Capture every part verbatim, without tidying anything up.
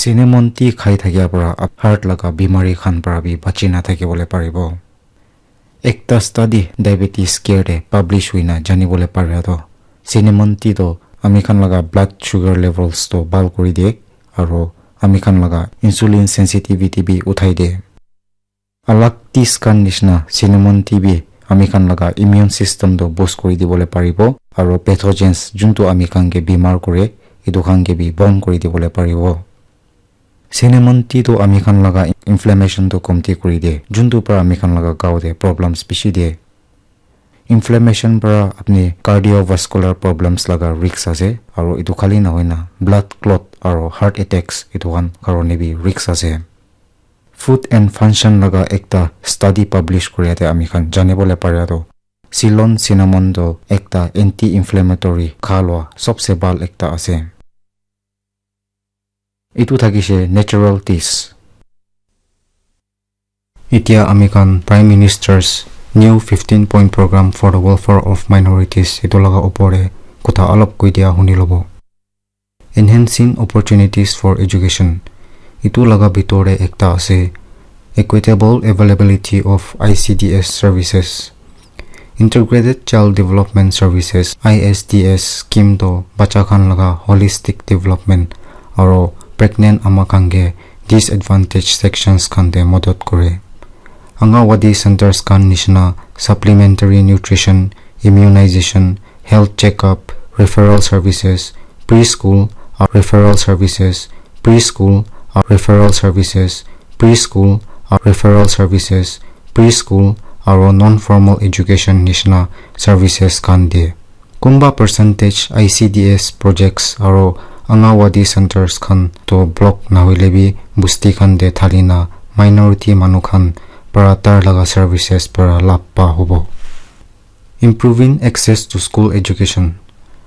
Cinnamon tea khai thakia para heart laga bimari khan para bi bachi na thakibole paribo. Ekta study diabetes care te publish hoina janibole paria toh, cinnamon tea toh ami khan laga blood sugar levels toh bhal kuri die, aro ami khan laga insulin sensitivity bi uthai die. Alak teas khan nishina cinnamon tea bi ami khan laga immune system toh boost kuri dibole paribo, aro pathogens juntu ami khan ke bimar kure, etu khan ke bi bon kuri dibole paribo. Cinnamon tea toh ami khan laga inflammation toh komti kuri die, juntu para ami khan laga gao te problems bishi die. Inflammation para apni cardiovascular problems laga risk ase, aro etu khali nahoina blood clot aro heart attacks etu khan karone bi risk ase. Food and Function laga ekta study publish kuria te ami khan janibole paria toh, Ceylon cinnamon toh ekta anti-inflammatory kha lua sobse bhal ekta ase. Etu thakishe natural teas. Etia ami khan Prime Minister's new fifteen point program for the welfare of minorities etu laga opor te kotha alop koi dia huni lobo. Enhancing opportunities for education. Etu laga bitor te ekta ase, equitable availability of I C D S services. Integrated Child Development Services, I S D S scheme toh bacha khan laga holistic development aro pregnant ama khan ke disadvantaged sections khan te modot kore. Anganwadi centers khan nishina supplementary nutrition, immunization, health checkup, referral services, preschool, uh, referral services, preschool, uh, referral services, preschool, uh, referral services, preschool, aro non-formal education nishina services khan de. Kunba percentage I C D S projects aro Anganwadi centers khan toh block nahoile bi busti khan te thalina minority manu khan para tar laga services para lab pa hobo. Improving access to school education.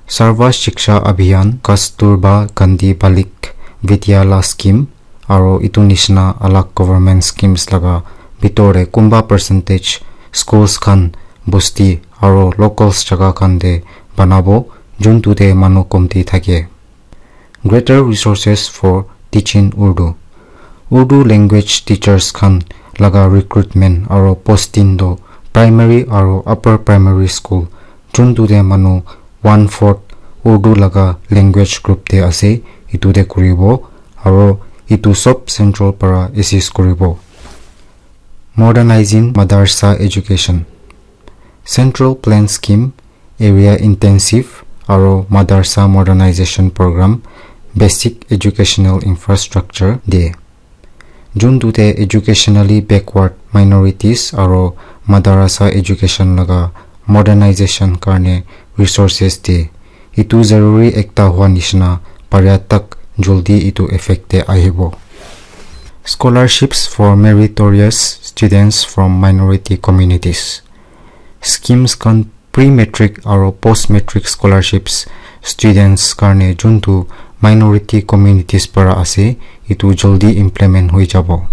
Sarva Shiksha Abhiyan, Kasturba Gandhi Balik Vidyalaya scheme, aro etu nishina alak government schemes laga bitor te kunba percentage schools khan busti aro locals jaga khan te banabo, juntu te manu komti thake. Greater resources for teaching Urdu. Urdu language teachers khan laga recruitment aro posting toh primary aro upper primary school juntu te manu one fourth Urdu laga language group te ase, etu te kuribo, aro etu sob central para assist kuribo. Modernizing Madarasa Education. Central Plan Scheme, Area Intensive aro Madarasa Modernization Program, Basic Educational Infrastructure de. Juntu te educationally backward minorities aro madarasa education laga modernization karne resources de. Etu zaruri ekta hua nishina paria tak joldi etu effect te ahibo. Scholarships for meritorious students from minority communities. Schemes khan pre-matric aro post-matric scholarships students karne juntu minority communities para ase, etu joldi implement hoi jabo.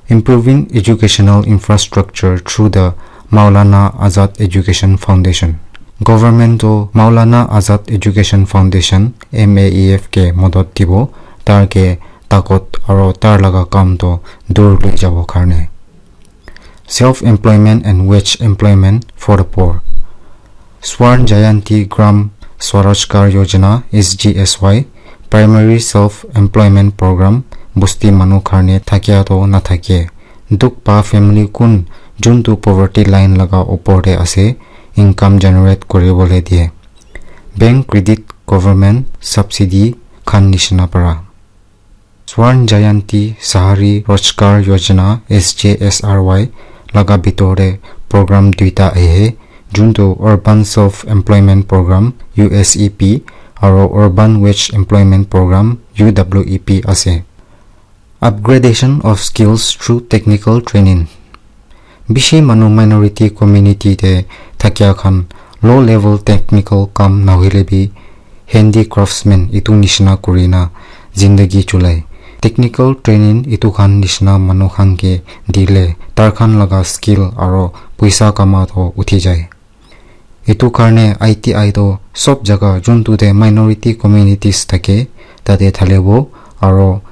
Improving educational infrastructure through the Maulana Azad Education Foundation. Government toh Maulana Azad Education Foundation, M A E F ke modot dibo, tar ke takot aro tar laga kam toh dur loi jabo karne. Self-employment and wage employment for the poor. Swarn Jayanti Gram Swarojgar Yojana, S G S Y, Primary Self-Employment Program, busti manu karne thakia toh nathake. Dukh pa family kun juntu poverty line laga opor te ase, income generate kuribole die. Bank credit, government subsidy khan nishina para. Swarn Jayanti Shahri Rojgar Yojana, S J S R Y, laga bitor te program duita ahe, juntu Urban Self Employment Program, U S E P, aro Urban Wage Employment Program, U W E P, ase. Upgradation of skills through technical training. Bishi manu minority community te thakia khan low level technical kam nahoile bi handicraftsman etu nishina kurina zindagi chulai. Technical training etu khan nishina manu khan ke dile tar khan laga skill aro puisa kama toh uthi jai. Etu karne I T I toh sob jaga juntu te minority communities thake tate thalibo aro